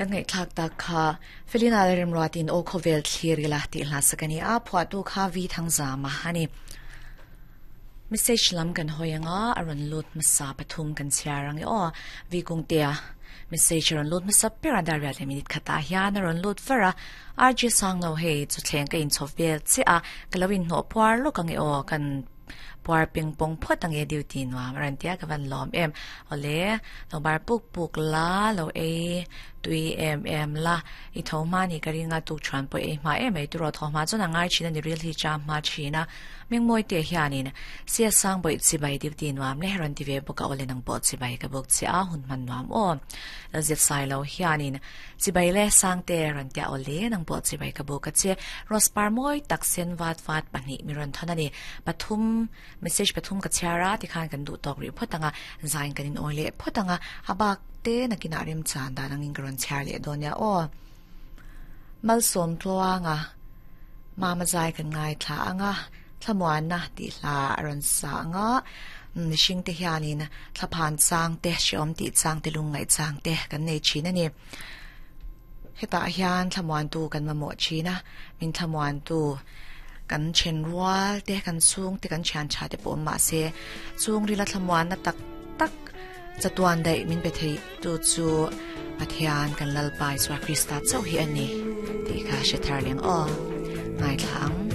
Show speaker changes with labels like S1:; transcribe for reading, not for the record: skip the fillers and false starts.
S1: Kan ngaihthlak tak kha Felina leh Remruatin Aw Khawvel thlir ila tih hla sak a ni a, phuahtu kha Vi Thangzama a ni. Message lam kan hawi anga a rawn lut hmasa pathum kan chhiar ang e aw. Vi Kungtea message a rawn lut hmasa ber a, dar riat leh minute khatah hian a rawn lut var a. RG Sangno hei chawthleng ka inchhawp vel chiah a, ka lo inhnawh puar lawk ang e aw kan Puar ping pawng phawt ang e duty nuam a rawn tia ka van lawm em. Awle, lo bar puk puk la, lo ei tui em em la, i tho hma ni ka ring a, tuk chuan pawh ei hma em ei turaw tho hma chuan a ngai thin a ni ril hi cham hma thin a. Mingmawi te hianin Sia Sang bawih chibai duty nuam le rawn ti ve bawk a, awle nang pawh chibai ka bawk che a, hun hman nuam aw. Zep sai lo hianin Chibai le Sangte rawn tia aw le nang pawh chibai ka buk a che. Rose par mawi tak sen vat vat pahnih mi rawn thawn a ni. Pathum message pathum ka chhiar a tikhan kan duh tawk rih phawt ang a, zain kan in awi leh phawt ang a, a bak te nakinah remchan dan angin ka rawn chhiar leh dawn nia aw. Malsawm tluanga mama zai kan ngaithla ang a, thlamuanna tih hla a rawn sa ang a, mihring te hianin thlaphan chang te, hreawm tih chang te, lungngaih chang te kan nei thin a ni. Hetah hian thlamuantu kan mamawh thin a, min thlamuantu kan then rual te, kan chhung te, kan thian tha te pawh awm mah se, chhungrila thlamuanna tak tak chatuan daih min pe thei tu chu Pathian kan Lalpa Isua Krista chauh hi a ni tih kha hre thar leng aw. Ngaithla ang.